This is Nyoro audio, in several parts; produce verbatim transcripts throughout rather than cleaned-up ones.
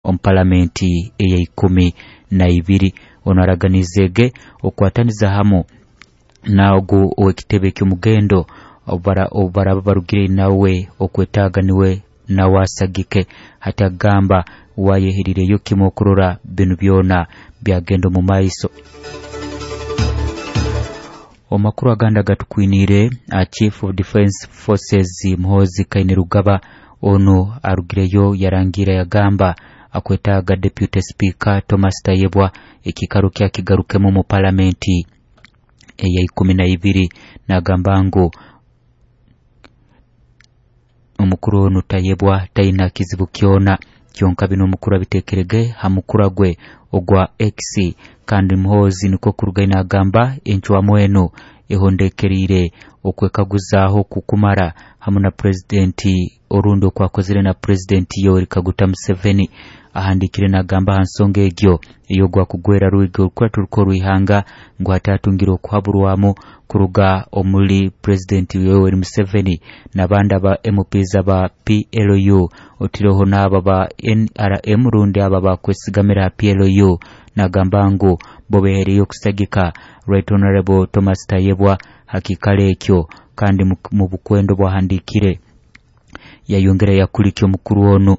Omu palamenti eya ikumi na ibiri ono araganizege okwataniza hamu naogu ow'ekitebe ky'omugendo obu baraba barugire nawe okwetaaga niwe nawe asagike. Hati agamba wayeherireyo kimu okurora binu byona byagenda omu maiso. Omakuru aganda gatukwinire, Chief of Defense Forces Muhoozi Kainerugaba ono arugireyo yarangira yagamba akwetaaga Deputy Speaker Thomas Tayebwa ekikaro kya kigarukemu mu palamenti eya ikumi na ibiri. Nagamba ngu omukuru ono Tayebwa taina kizibu kyona kyonka bino omukuru abitekerege ha mukura gwe ogwa X. Kandi Muhoozi niko kuruga inagamba encwamu eno ehondekerire okwekaguzaaho kukumara hamu na presidenti orundi okwakozere na presidenti Yoweri Kaguta Museveni. Ahandikire nagamba ha nsonga egyo eyogwa kugwera ruiga orukuratu rw'ihanga ngu hatatungire okuhaburwamu kuruga omuli presidenti Yoweri Museveni n'abandi aba M Ps aba P L U otireho n'aba ba N R M rundi aba bakwesigamira P L U. Nagamba ngu bo behereyo okusagika Right Honorable Thomas Tayebwa hakikale ekyo. Kandi mu bukwendo bwahandikire yayongera yakulikya omukuru ono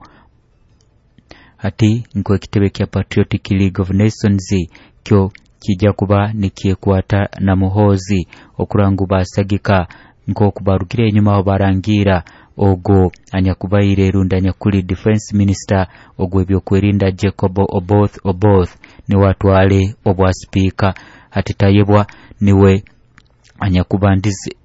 ati nko ekitebe kya Patriotic League of Nations kyo kijja kuba nikyekwata na Muhoozi okurangu basagika nkokubarugire enyuma aho barangira ogo anyakubaire runda anyakuli Defense Minister ogwo ebyokwerinda Jacob Oboth Oboth niwe atwale obwa speaker. Hati Tayebwa niwe anyakubandize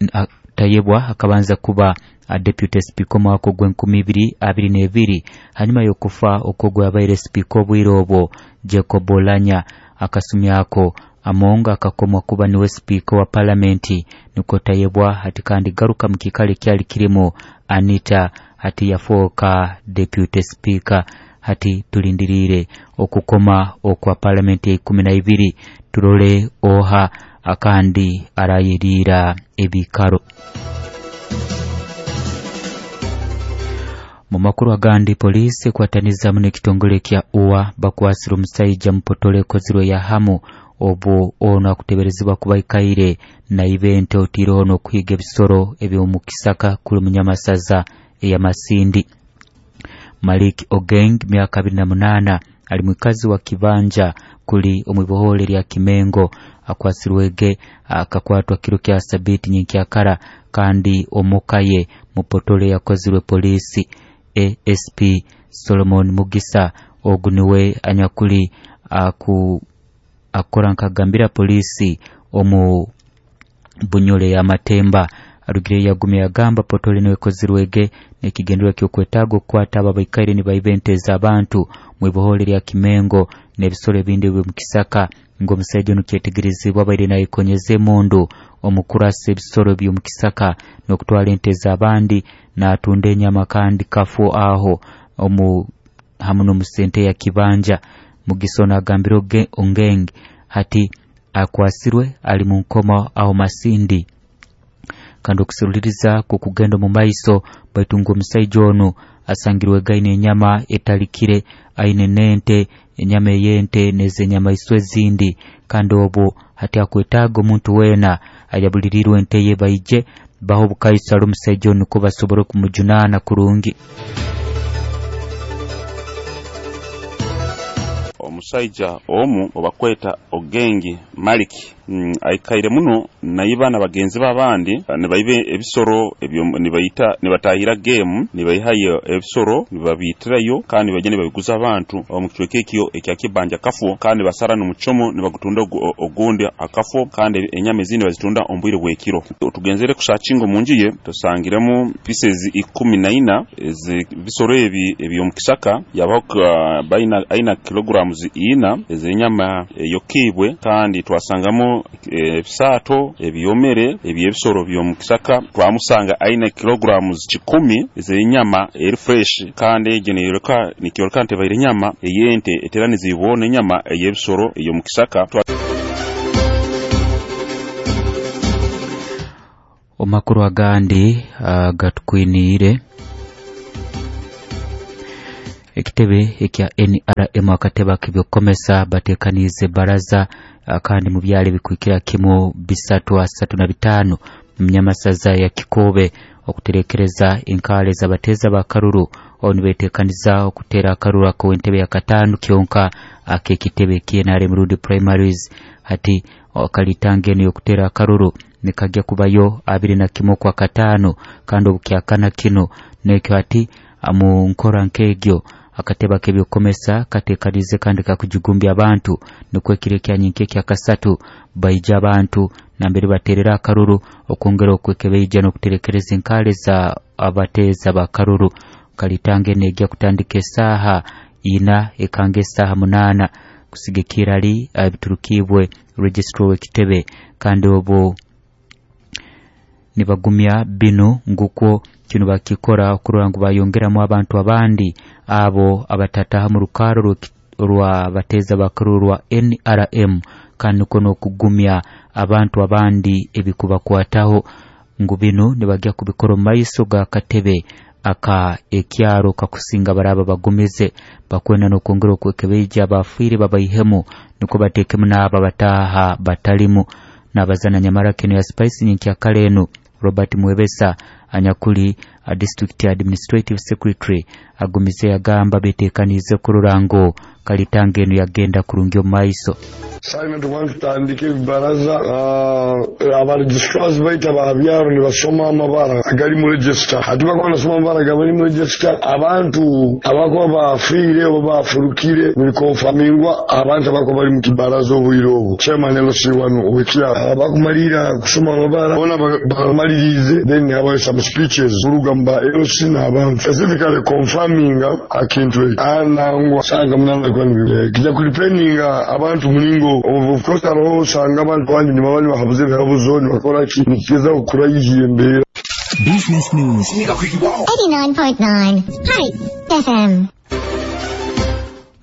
Tayebwa akabanza kuba a deputy speaker mwaka ogw'enkumi ibiri abiri n'ebiri hanyuma y'okufa okwo abaire speaker obwire obwo Jacob Olanya. Akasumyako Amonga akakomwa kuba niwe speaker wa palamenti niko Tayebwa hati kandi garuka mu kikale kyali kirimo Anita hati yafoka deputy speaker. Hati tulindirire okukoma okwa palamenti ya ikumi na ibiri turole oha akandi arayirira ebikaro. Mu makuru agandi, polisi ekwataniza muno ekitongole kya U A bakwasira omusaija mupotole ekozirwe ya hamu obu ono akuteberezebwa kuba ikaire na ibente otireho n'okuhiga ebisoro eby'omukisaka kuli munyamasaza eya Masindi. Malik Ogeng myaka abiri na munana ali mwikazi wa kibanja kuli omwibohole lya Kimengo akwasirwege akakwatwa kiro kya sabiti nyenkyakara kandi omukaye mupotole yakozirwe polisi. A S P Solomon Mugisa ogu niwe anyakuli aku akora nkagambira polisi omu bunyole ya Matemba. Arugire yagumye yagamba potole niwe kozirwege nekigendererwa ky'okwetaaga okukwata aba baikaire nibaibenteza abantu mwibohole lya Kimengo n'ebisoro ebindi byo mukisaka ngo omusajja ono kyetegerezebwa abaire nayekonyeza emundu omukurasa ebisoro by'omukisaka n'okutwara ente z'abandi n'atunda enyama kandi kafu aho omu hamu n'omusente ya kibanja. Mugisa ono agambire Ongeng hati akwasirwe ali mu nkoma aho Masindi kandi okuseruliriza kukugenda mu maiso baitu ngo omusajja ono asangirwe gaine enyama etalikire aine nente enyama ey'ente n'ezenyamaiswa ezindi kandi obu hati akwetaaga omuntu weena ayabulirirwe ente ye baije baho obukaisa ali omusajja ono niko basobole kumujunaana kurungi. Omusaija omu obakweta Ogengi Maliki mm, aikaire muno naiba na bagenzi b'abandi nibaibe ebisoro ebyo nibaita nibatahira game nibaihayo ebisoro nibabitirayo kandi bajya nibabiguza abantu omu kicweka ekyo ekya Kibanja Kafo kandi basara n'omuchomo nibagutunda ogundi akafo kandi enyama ezindi bazitunda ombwire bwekiro. Tugenzere kusachingo munjiye tusangiremu pieces ikumi na ina ezibisoro ebi ebyomukisaka yabaho baina aina kilograms ina ezenyama eyokibwe kandi twasangamo ebisato ebyomere ebyebisoro byomukisaka twamusanga aina kilograms kikumi ezenyama eri fresh kandi egyo neyoleka nikyoleka nti baire nyama eyente eteranizibwa enyama eyebisoro eyomukisaka. Omakuru agandi gatukwiniire Ekitebe ekya N R M akatebe k'ebyokukomesa bateekaniize baraza kandi mu byalo ebikwikira kimu bisatu asatu na bitaano mu Nyamasaza ya Kikobe okuterekereza enkaale z'abateeza b'akaruru aho nibeteekaniza okuteera akaruru ak'entebe ya kataano kyonka ak'ekitebe ky N R M rundi primaries. Hati kalitanga eno y'okuteera akaruru nikajya kubayo abiri na kimwe kwa kataano kandi obukyakana kino nekyo hati mu nkora nk'egyo akatebe k'ebyokukomesa kateekanize kandi kakujugumbya abantu nikwo ekiro ekyanyinka ekyakasatu baija abantu nambere bateerera akaruru okwongera okwekebeija n'okuterekereza enkaale za abateeza b'akaruru. Kalitanga eno ejja kutandika esaaha ina ekanga esaaha munaana kusigikira ali ebiturukibwe registrar w'ekitebe kandi obu nibagumya bino ngukwo kino bakikora okurora ngu bayongeramu abantu abandi abo abatataha mu rukaro rwa bateeza bakaruru rwa N R M kandi niko n'okugumya abantu abandi ebikubakwataho ngu bino nibajya kubikora omu maiso ga katebe aka ekyaro kakusinga baraba bagumize bakwenda n'okwongera okwekebeija abafiire babaihemu niko bateekemu n'abo abataha batalimu. N'abazana nyamara keno ya Spice nyenkyakare eno Robert Mwebesa anyakuli a district administrative secretary agumize yagamba betekanize kurora ngo kalitanga eno yagenda kurungi omu maiso. Simon tubantu tutandike baraza uh, abaregistrars baita babyaro nibasoma amabara agali mu register hati bakuba nasoma amabara agali mu register abantu abakuba bafiire oba bafurukire nibikonfamingwa abantu abakuba bali mu kibaraza obwire obwo chairman L C one owekya abakumalira kusoma amabara bona bamalirize then habayo some speeches kuruga mu ba L C n'abantu specifically confirming akintu anangwa sanga munana kwani kijja kulipeninga abantu mulingo. Of course hariho usanga abantu abandi nyuma bandi bahabuze ibihabuzo ntibakora ki nikiza kukura yihiye mbere. Business News eighty-nine point nine Spice F M.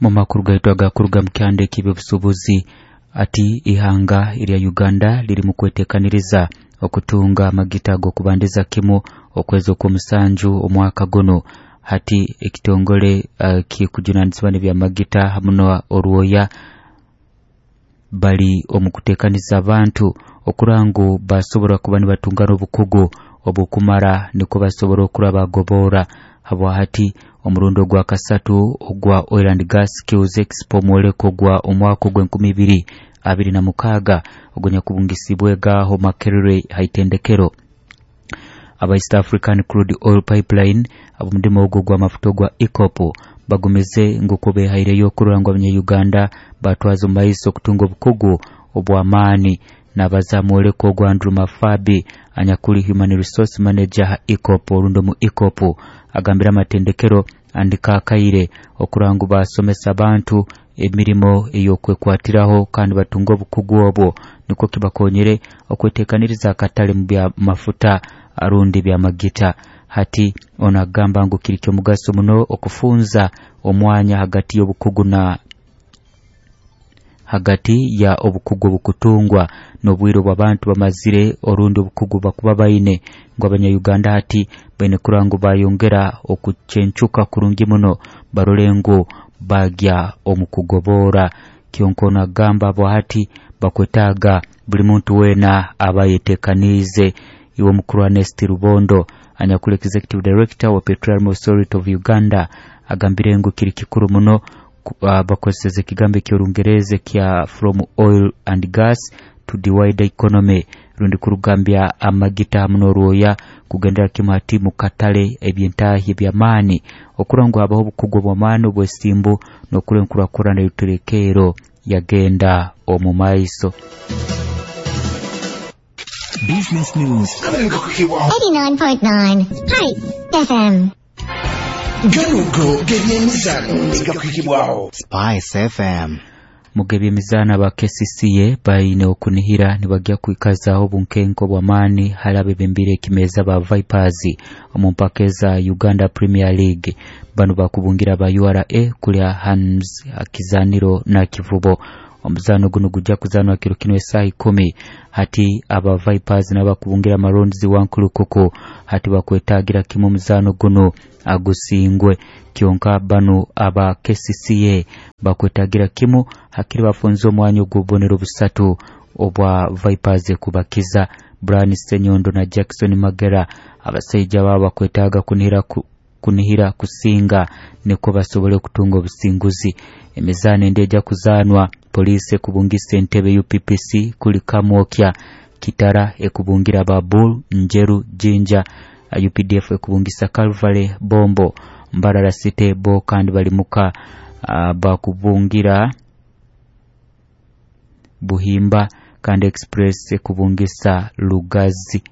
Mu makuru gaitu agakuruga mu kyanda eky'ebyobusuubuzi ati ihanga erya Uganda liri mu kweteekaniriza okutunga amagita ag'okubandiza kimu okwezi okw'omusanju omwaka guno. Hati ekitongole uh, kikujunanizibwa n'ebyamagita hamu n'orwoya bali omu kuteekaniza abantu okurangu basobora kuba nibatunga n'obukugu obukumara niko basobora okuraba bagobora habwa hati omurundo gwa kasatu ogwa Oil and Gas Skills Expo mwoleko gwa omwaka ogw'enkumi ibiri abiri na mukaaga ogonyakubungisibwe gaho Makerere haitendekero. Aba East African Crude Oil Pipeline ab'omudimo ogwo gwa mafuta gwa EACOP bagumize nguko behaireyo okurora ngu abanya-Uganda batwaza omu maiso okutunga obukugu obw'amaani. N'abaza mwoleko ogwa Andrew Mafabi anyakuli Human Resource Manager ha EACOP orundi mu EACOP agambira amatendekero andika akaire okurora ngu basomesa abantu emirimo ey'okwekwatiraho kandi batunga obukugu obwo niko kibakonyere okweteekaniriza akatale mu bya mafuta arundi bya magita. Hati ono agamba ngu kiri ky'omugaso muno okufunza omwanya hagati y'obukugu na hagati ya obukugu obukutungwa n'obwire bw'abantu bamazire orundi obukugu bakuba baine ngu abanya-Uganda hati baine kurora ngu bayongera okucencuka kurungi muno barore ngu bagya omu kugobora. Kyonka ono agamba abo hati bakwetaaga buli muntu weena aba yeteekaniize. Iwe mukuru Ernest Rubondo anyakuli Executive Director wa Petroleum Authority of Uganda agambire ngu kiri kikuru muno uh, bakozeseze ekigambo eky'Orungereza kya from oil and gas to the wider economy rundi kurugambya amagita hamu n'orwoya kugendera kimu hati mu katale ebyentaahi eby'amaani okurora ngu habaho obukugu obw'amaani obw'esimbu n'okurora enkurakurana y'oruterekeero yagenda omu maiso. Business News eighty-nine point nine Spice F M. Ganugo gebyemizano gakwikibwaho Spice F M. Mugebyemizano aba K C C A baine okunihira nibajya kwikazaho obunkenko bw'amaani hali abebembire ekimeza ba Vipers omu mpaka eza Uganda Premier League. Bano bakubungira ba U R A kulya Hans Akizaniro na Kivubo. Omuzano guno gujja kuzanwa kiro kino esaha ikumi. Hati aba Vipers n'abakubungira Maroons Wankulukuku hati bakwetagira kimu omuzano guno agusingwe. Kyonka bano aba K C C A bakwetagira kimu hakiri bafunze omwanya ogw'obubonero busatu obwa Vipers kubakiza. Brian Senyondo na Jackson Magera abasajja babo bakwetaaga kunihira ku, kunihira kusinga niko basobole okutunga obusinguzi. Emizaano endi ejja kuzaanwa poliisi ekubungisa entebe U P P C kuli Kamwokya, Kitara ekubungira Babul, Njeru, Jinja, U P D F ekubungisa Calvary, Bombo, Mbarara City bo kandi bali muka uh, bakubungira Buhimba kandi Express ekubungisa Lugazi.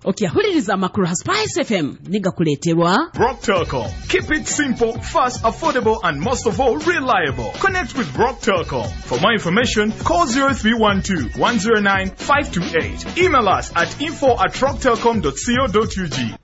Okyahuliriza amakuru ha Spice F M nigakuleterwa Rock Telcom. Keep it simple, fast, affordable and most of all reliable. Connect with Rock Telcom. For more information, call zero three one two, one zero nine, five two eight. Email us at info at rocktelcom dot co dot U G.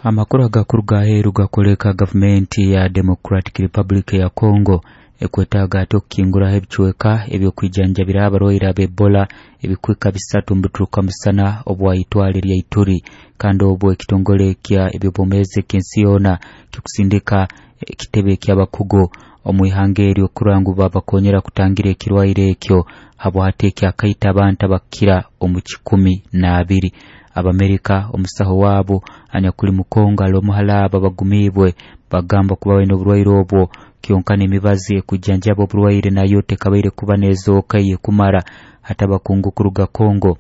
Amakuru agakuru gaheru gakoleka gavumenti ya Democratic Republic ya Congo ekwetaaga ate okukinguraho ebicweka ebyokwijanjabira abarwaire ab'Ebola ebikwika bisatu mbituruka musana obwayitwale lya Ituri, kandi obwo ekitongole kya ebyobwomeezi eky'ensi yoona kikusindika ekitebe ky'abakugu omu ihanga eryo kurangu babakonyera kutangira ekirwaire ekyo habwate ekyakaita abantu abakira omu kikumi n'abiri. Abamerika omusaho wabo anyakuli Mukongo alomuhalaba bagumibwe bagamba kuba baine oburwaire obwo kyonka n'emibazi ekujanjaba oburwaire nayo tekabaire kuba nezooka yekumara. Hata abakungu kuruga Kongo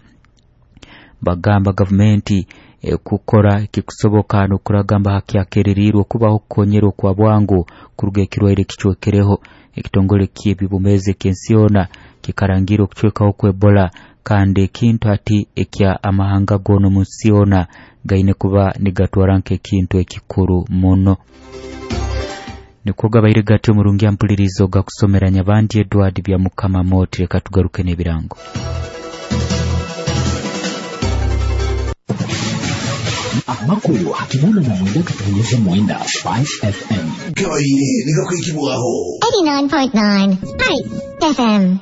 bagamba gavumenti ekukora ekikusoboka n'okuragamba hakyakererirwe kubaho okukonyera okwa bwangu kuruga ekirwaire kicwekereho. Ekitongole ky'ebyobwomeezi eky'ensi yoona kikarangira okucwekaho kw'Ebola kandi ekintu hati ekya amahanga goona omu nsi yoona gaine kuba nigatwara nk'ekintu ekikuru muno. Nikwo gabaire gatyo omurungi ampulirizo gakusomera Nyabandi Edward Byamukama Moti. Reka tugaruke n'ebirango. Amakuru hakinana na mwenda katonyeze mwenda Spice F M. Gabaire nigakwikibwaho eighty-nine point nine Spice F M.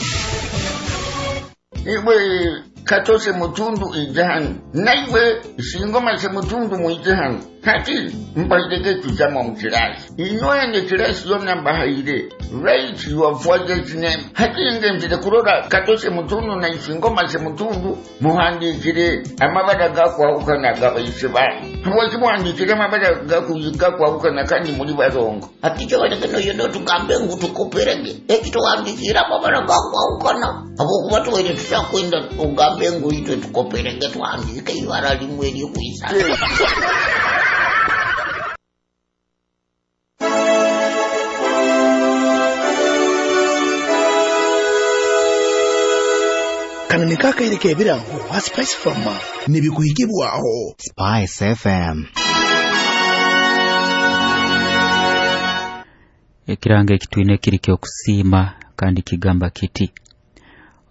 Iwe katose mutundu ijahanu naiwe singoma se mutundu muijahanu hati mbairege tujama mukirasi inywene kirasi yonna mbahaire write your father's name hati ngenzire kurora katose mutundu na isingoma se mutundu muhandikire amabara gakwahukana gabaise banyu habwaki muhandikire amabara gakwahukana kandi muri barongo ati kyobaleke noyo notugambe ngu tukoperege ekituhandikire amabara gakwahukana habwokuba tuwaire tushakwenda ugambe ngu itwe tukoperege tuhandike ibara limwe eryokwisa. Kanani kakaire ebirango ha Spice Farmer nibikuhikibwaho Spice F M. Ekirango ekitwine kiri kyokusiima kandi kigamba kiti: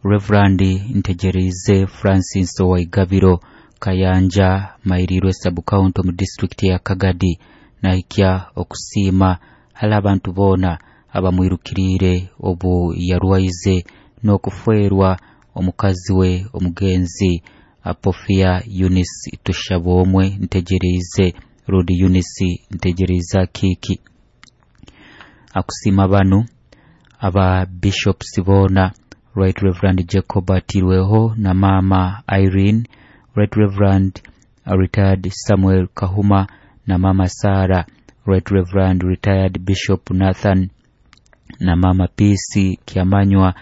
Reverend Ntegereize Francis Owaigabiro Kayanja Mairirwe sub-county mu district ya Kagadi nahikya okusiima hali abantu boona abamwirukiriire obu yarwaize n'okufeerwa omukazi we omugenzi Apofia Eunice Tushabomwe Ntegereize Rodi Eunice Ntegereize Kiki. Akusima banu aba bishops boona Right Reverend Jacob Atirweho na Mama Irene, Right Reverend Retired Samuel Kahuma na Mama Sarah, Right Reverend Retired Bishop Nathan na Mama P C Kiamanywa.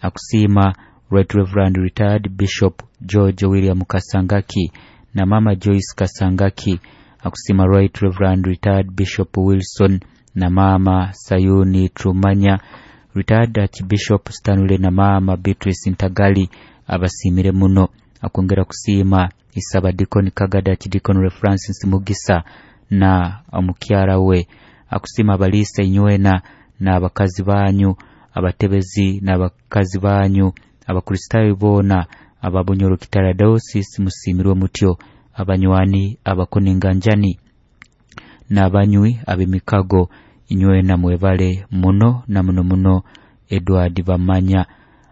Akusima Right Reverend Retired Bishop George William Kasangaki na Mama Joyce Kasangaki. Akusima Right Reverend Retired Bishop Wilson na Mama Sayuni Trumanya, Retired Archbishop Stanley na Mama Beatrice Ntagali abasimire muno. Akwongera kusiima Isaba Deacon Kagada Archdeacon Francis Mugisa na omukyara we. Akusima abalisa inywena na abakazi banyu, abatebezi n'abakazi banyu, Abakristaayo boona ababunyoro Kitara Diocese musimirwe mutyo, abanywani abakunenganjani n'abanywi ab'emikago inywena mwebale muno na muno muno Edward Bamanya.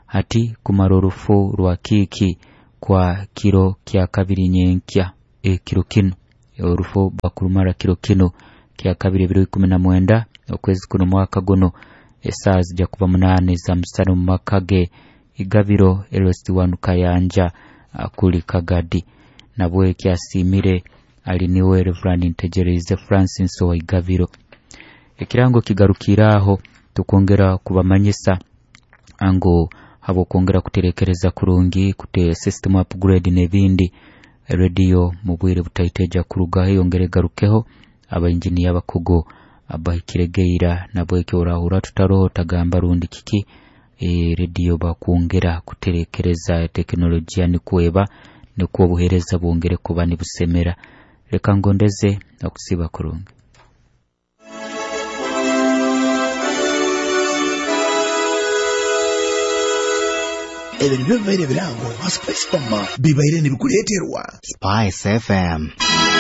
Hati kumara orufu rwa kiki kwa kiro kya kabiri nyenkya e, kiro kino orufu bakurumara kiro kino kya kabiri ebiro ikumi na mwenda okwezi kuno mwaka guno esaa zijja kuba munaana za musana mu maka ge Igabiro Elosi wanu Kayanja kuli Kagadi. Nabwe kyasiimire ali niwe Reverend Ntegereize Francis wa Igabiro. Ekirango kigarukiraho tukwongera kubamanyisa ango habwokwongera kuterekereza kurungi kute system upgrade n'ebindi radio mu bwire butaiteja kurugaho yongere garukeho abainjiniya abakugu abahikiregeira nabwekyo orahura tutaroho tagamba rundi kiki e, radio bakwongera kuterekereza teknolojia nikweba nikwo obuheereza bwongere kuba nibusemera. Reka ngondeze okusiba kurungi. Ebyo nibyo bibaire birango ha Spice Farmer bibaire nibikuleeterwa Spice F M.